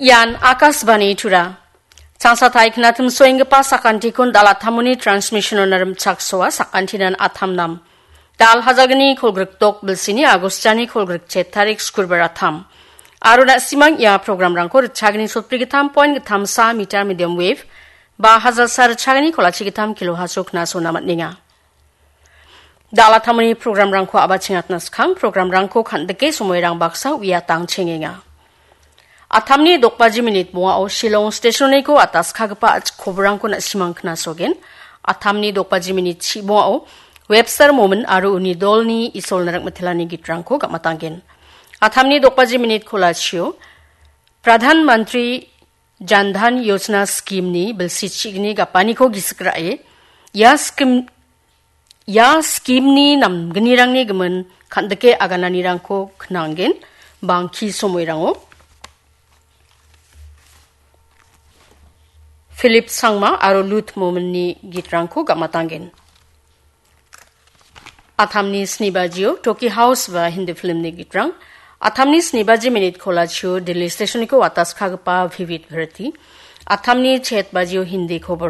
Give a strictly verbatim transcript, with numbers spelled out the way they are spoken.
Ian Akashvani Tura. Changsatai knatim soenggipa sakantikon dal attamoni transmission-ona rimchaksoa sakantinan atam nam. Dal hajalgni kolgrikdok bilsini Agostani kolgrikchet tarik skurbar atam. Aro na·simang ia programrangko ritchagni sotbrigittam point gittam sa meter medium wave, ba hajalsa ritchagni kolachi gittam kilohertz-o knasona man·enga. Dal attamoni programrangko a·bachengatna skang programrangko kan·dike somoirang baksa uiatangchengenga. Atamni dokbaji minit bongao Shillong stationiko ataskagipa a·chik koborangko na·simang knasogen. Atamni dokbaji minit chi bongao Webster Momin aro uni dolni Isol Narikmitelani gitrangko gamatanggen. Atamni dokbaji minit kolachio Pradhan Mantri Jan Dhan Yojana scheme-ni bilsi chigni gapaniko gisik ra·e, ia scheme, ia scheme-ni namgnirangni gimin kan·dike agananirangko knanggen, bangki somoirango. Philip Sangma aro Lut Mominni gitrangko gamatanggen. Atamni snibajio Toki House ba Hindi filmni gitrang. Atamni snibaji minit kolachio Delhi stationiko ataskagipa Vivid Bharati. Atamni chet bajio Hindi khobor